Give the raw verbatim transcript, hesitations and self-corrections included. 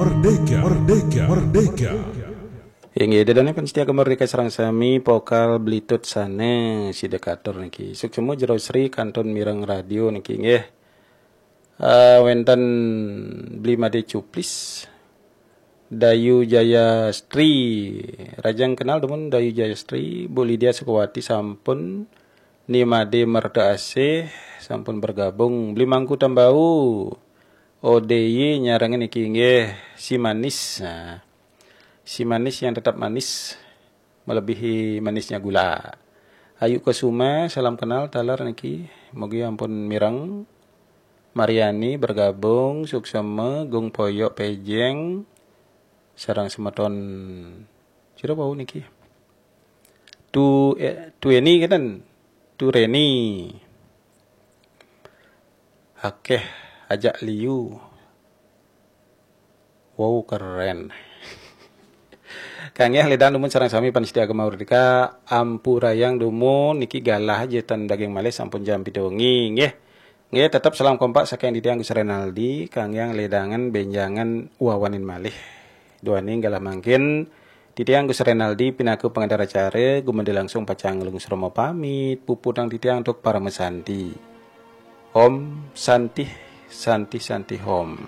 Merdeka, merdeka, merdeka. Inggih, ida dané pamiarsa Gema Merdeka sareng sami, pokal Blitut sané sida katur niki. Suksma Jero Sri kantun mireng radio niki nggih. Eh, wénten Bli Madé Cuplis, Dayu Jaya Stri. Rajang kenal dumun Dayu Jaya Stri, Bu Lydia Sukawati sampun, Ni Madé Merta Asih sampun bergabung, Bli Mangku Tambau. O D Y nyarengin niki nggih, si manis. Nah, si manis yang tetap manis melebihi manisnya gula. Ayu Kusuma, salam kenal taler niki. Mugi ampun mireng. Mariani bergabung, suksma, Gung Poyok Pejeng, sareng semeton sira wau niki. Tu eh, Tu Eni kenten. Tu Reni. Akeh ajak liu. Wow, keren. Kanggih ledang dumun sareng sami pamiarsa Gema Merdeka, ampurayang dumun niki galah aja ten daging malih sampun jam pitu wengi nggih. Nggih, tetep salam kompak saking titiang Gus Renaldi, kanggih ledangan benjangan wawanin malih. Duaning galah mangkin titiang Gus Renaldi pinaka pangenter acara, gumanti langsung pacang nglungsur pamit, puputang titiang antuk parama santi. Om Santih, Santih, Santih Om.